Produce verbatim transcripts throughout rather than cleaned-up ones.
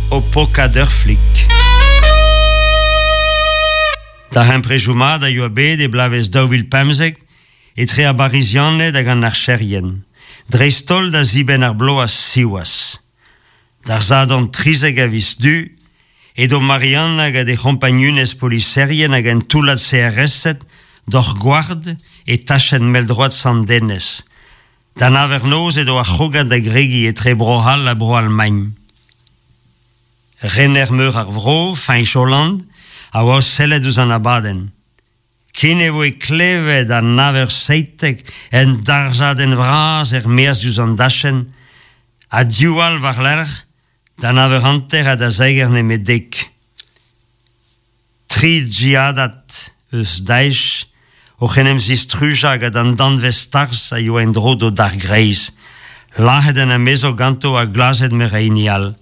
o pokat ur flik. Darempredoù mat a yoa bet e bloavezh daou vil pemzek etre ar Barizianed hag an archerien, dreist-holl da zibenn ar bloaz siwazh. D'ar Sadorn trizek a viz Du, edo Marianna gant he c'hompagnunez poliserien hag un toullad C R S-ed doc'h gward e tachenn mell-droad Sant-Denez. Da nav eur noz edo ar c'hrogad da gregiñ etre Bro-C'hall ha Bro-Almagn. Rener meur ar vro, Fañch Hollande, a oa o sellet ouzh an abadenn. Ken e voe klevet an nav eur seitek en darzhadenn vras er-maez diouzh an dachenn, ha div all war-lerc'h da nav eur hanter ha da zeger nemet dek. Tri djihadad eus Daesh oc'h en em zistrujañ gant an danvez tarzh a yoa en-dro d'o dargreiz, lazhet an amezo ganto ha glazet meur a hini all.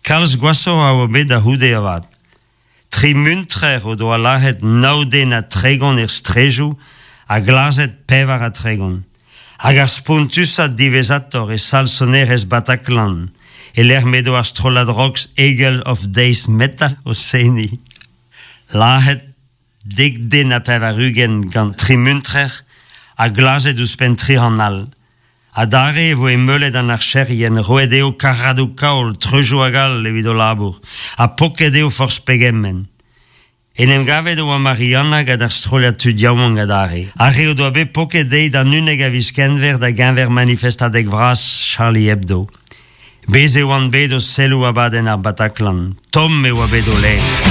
Kalz gwashoc'h a oa bet da c'houde avat. Tri muntrer o doa lazhet nav den ha tregont er strejoù ha glazet pevar ha tregont. Hag ar spontusad diwezhatoc'h e sal sonerezh Bataclan, e lec'h m'edo ar strollad rock Eagle of Death Metal o seniñ. Lazhet dek den ha pevar-ugent gant tri muntrer ha glazet ouzhpenn tri c'hant all. Adarre e voe meulet an archerien, roet eo karradoù kaol, treujoù hag all evit o labour, ha poket eo forzh pegement. En em gavet oa Marianna gant ar strollad tud yaouank adarre. Ar re o doa bet poket dezhi d'an unnek a viz Kenver da geñver manifestadeg vras Charlie Hebdo. Bez e oant bet o selloù abadenn ar Bataclan. Tomm e oa bet o ler.